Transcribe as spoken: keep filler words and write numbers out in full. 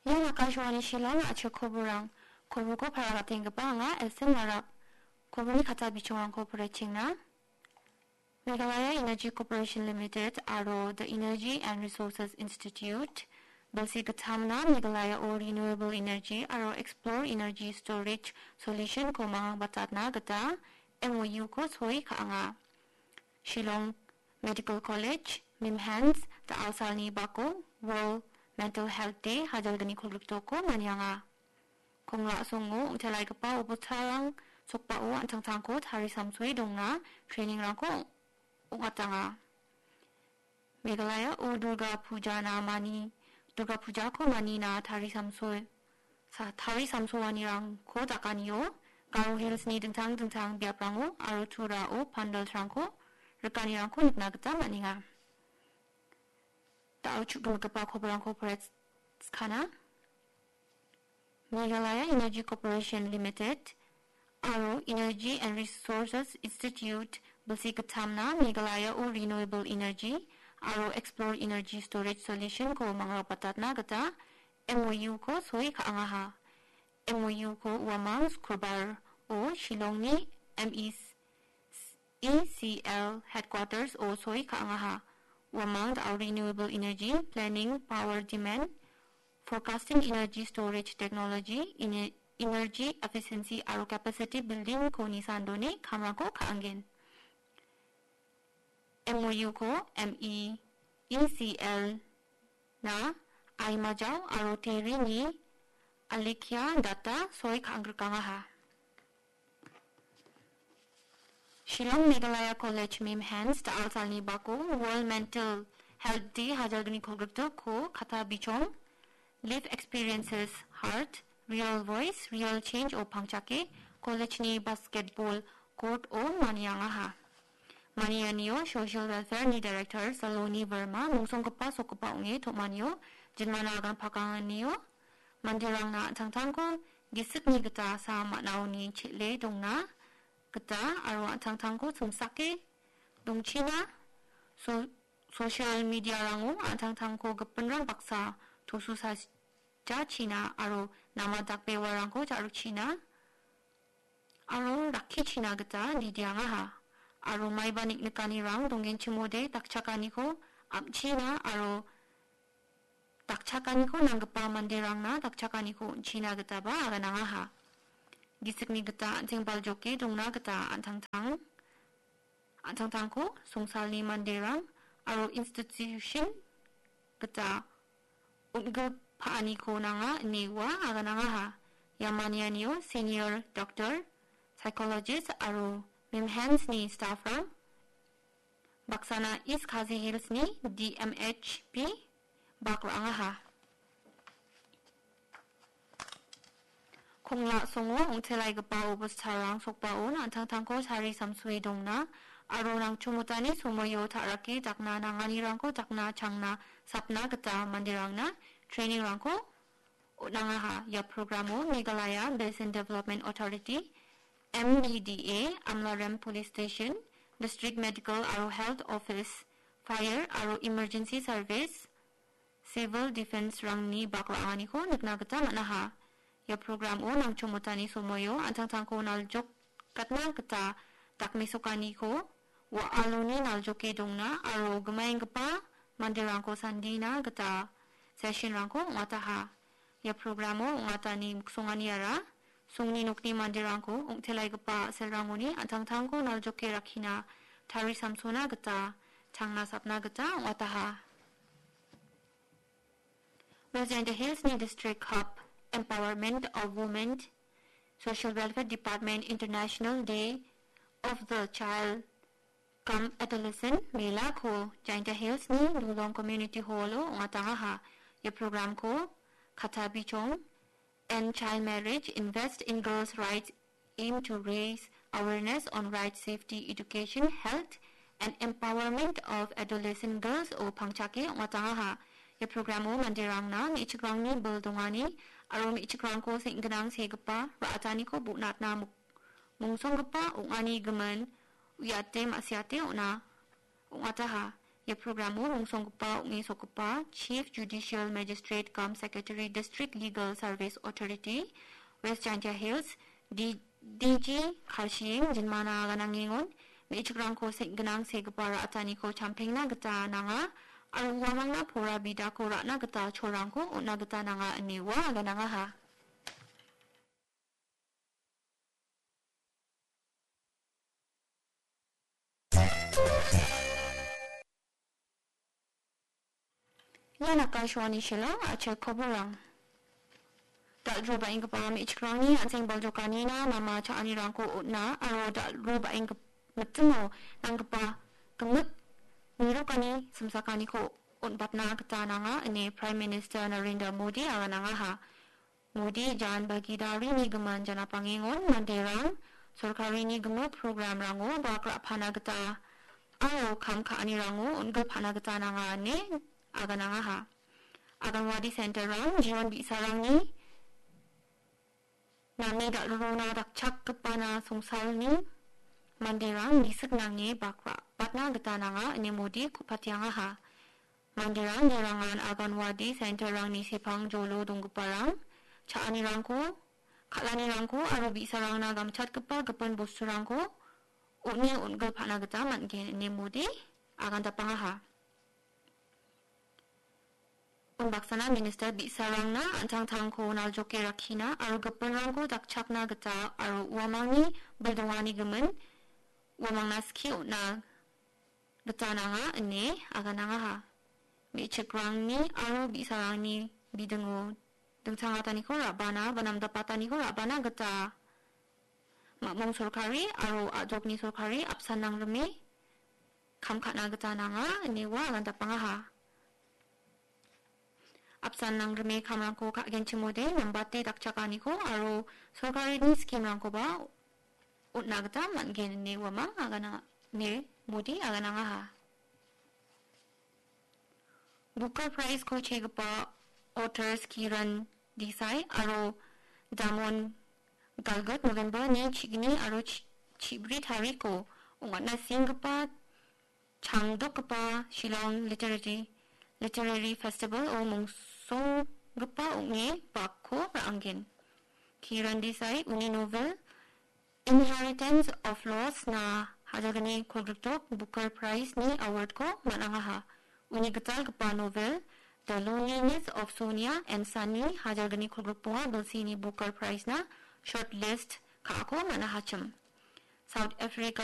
Ian Akashvani Shillong a·chik koborrang. Koborko para gatenggipa anga Elsen Marak. Koborni kata bichongrangko poraichengna. Meghalaya Energy Corporation Limited aro The Energy and Resources Institute, bilsi gittamna Meghalaya-o renewable energy aro explore energy storage solution-ko mangbatatna gita M O U-ko soi ka·anga. Shillong Medical College, MIMHANS, da·alsalni bako World Mental Health Day hajalgni kolgriktoko manianga. Kongla·songo ong·telaigipa obotarang sokbao an·tangtangko tarisamsoe dongna training-rangko ong·atanga. Meghalaya-o Durga Puja namani, Durga Pujako manina tarisamsoe, sa-, tarisamsoanirangko dakanio, Garo Hills-ni dingtang dingtang biaprango aro Turao pandalrangko rikanirangko nikna gita man·enga. Da·o chu·gimigipa koborrangko poraiskana. Meghalaya Energy Corporation Limited aro Energy and Resources Institute bilsi gittamna Meghalaya-o renewable energy aro explore energy storage solution-ko mangbatatna gita M O U-ko soi ka·angaha. M O U-ko uamang Sukrobar-o Shillongni M E C E C L Headquarters-o soi ka·angaha. Uamang da·o renewable energy, planning, power demand, forecasting, energy storage technology, ine-, energy efficiency aro capacity building-ko nisandone kamrangko ka·angen. M O U-ko M E E C L-na Aimajao aro Terry-ni Alikia Dutta soi ka·angrikangaha. Shillong Meghalaya College MIMHANS da·alsalni bako World Mental Health Day hajalgni kolgriktoko kata bichong, Live Experiences Heart, Real Voice, Real Change-o pangchake college-ni basketball court-o maniangaha. Manianio Social Welfare-ni Director Saloni Verma mungsonggipa sokgipa ong·e tom·anio jinmana agan pakanganio manderangna an·tangtangko gisikni gita sam man·aoni chel·e dongna gita aro an·tangtangko chimsake dongchina so-, social media-rango an·tangtangko gipinrang baksa tosusajachina aro nama dakbewarangko ja·rikchina aro rakkichina gita nidiangaha. Aro maiba niknikanirang donggenchimode dakchakaniko am·china aro dakchakaniko nanggipa manderangna dakchakaniko on·china gitaba aganangaha. Gisikni gita an·teng baljoke dongna gita an·tangtang, an·tangtangko songsalni manderang aro institution gita on·gipaan-niko nanga ine ua aganangaha. Ia manianio senior doctor, psychologist aro MIMHANS-ni staff-rang baksana East Khasi Hills-ni D M H P bak ra·angaha. Kongla·songo ong·telaigipa obostarang sokbaon an·tangtangko sari samsoe dongna aro nangchomotani somoio ta·rake dakna nanganirangko dakna changna sapna gita manderangna training-rangko on·angaha. Ia programo Meghalaya Basin Development Authority, M B D A, Amlarem Police Station, District Medical aro Health Office, Fire aro Emergency Service, Civil Defence-rangni bak ra·anganiko nikna gita man·aha. Ia programo nangchomotani somoio an·tangtangko naljokatna gita dakmesokaniko wa·aloni naljoke dongna aro gimaenggipa manderangko sandina gita session-rangko ong·ataha. Ia programo ong·atani miksonganiara songni nokni manderangko ong·telaigipa a·selrangoni an·tangtangko naljoke rakkina tari samsona gita changna sapna gita ong·ataha. West Jaintia Hills-ni District Hub Empowerment of Women Social Welfare Department International Day of the Child cum Adolescent Mela-ko Jaintia Hills-ni Lulong Community Hall-o ong·atangaha. Ia program-ko Katabichong End Child Marriage, Invest in Girls' Rights aim to raise awareness on rights, safety, education, health, and empowerment of adolescent girls-o pangchake ong·atangaha. Ia program-o manderangna me·chikrangni bil dongani aro me·chikrangko seng·ginang segipa ra·ataniko bonatna muk-, mungsonggipa ong·ani gimin uiate ma·siate on·a, ong·ataha. Ia programo rongsonggipa ong·e sokgipa Chief Judicial Magistrate cum Secretary District Legal Service Authority, West Jaintia Hills, D-, D G Karshieng jinmana ganangengon, me·chikrangko seng·ginang segipa ra·ataniko champengna gita nanga, aro uamangna pora bidako ra·na gita cholrangko on·na gita nanga ine ua aganangaha. Ian Akashvani Shillong, a·chik koborang. Dal·drobaenggipa me·chikrangni an·seng baljokanina nama cha·anirangko on·a aro dal·drobaenggipa mitimo nanggipa gimik nirokani simsakaniko on·batna gita nanga ine Prime Minister Narendra Modi aganangaha. Modi Jan Bhagidarini gimin janapangengon manderang sorkarini gimik programrango bak ra·pana gita aro kam ka·anirango on·gilpana gita nanga ine aganangaha. Anganwadi centerrang jion bi·sarangni name dal·rona dakchakgipana songsalni manderang gisik nange bak ra·batna gita nanga ine Modi ku·patiangaha. Manderang jerangan Anganwadi centerrangni sepang jolo donggiparang cha·anirangko, kal·anirangko aro bi·sarangna gamchatgipa gipin bosturangko on·e on·gilpana gita man·gen ine Modi agandapangaha. Unbaksana minister bi·sarangna an·tangtangko naljoke rakkina aro gipinrangko dakchakna gita aro uamangni bildongani gimin uamangna skie on·na gita nanga ine aganangaha. Me·chikrangni aro bi·sarangni bidingo dingtang ataniko ra·bana ba namdapataniko ra·bana gita mamung sorkari aro a·dokni sorkari apsan nangrime kam ka·na gita nanga ine ua agandapangaha. Apsan nangrime kamrangko ka·genchimode nambate dakchakaniko aro sorkarini skimrangkoba on·na gita man·gen ine uamang agana ine Modi aganangaha. Booker Prize-ko chegipa authors Kiran Desai aro Damon Galgut November-ni chigni aro chi-, chibri tariko ong·atna senggipa changdokgipa Shillong Literary, Literary Festival-o mongsonggipa ong·e bakko ra·angen. Kiran Desai uni novel Inheritance of Loss-na hajalgni kolgrikdok Booker Prize-ni award-ko man·angaha. Uni gitalgipa novel The Loneliness of Sonia and Sunny hajalgni kolgrikbonga bilsini Booker Prize-na shortlist ka·ako man·ahachim. South Africa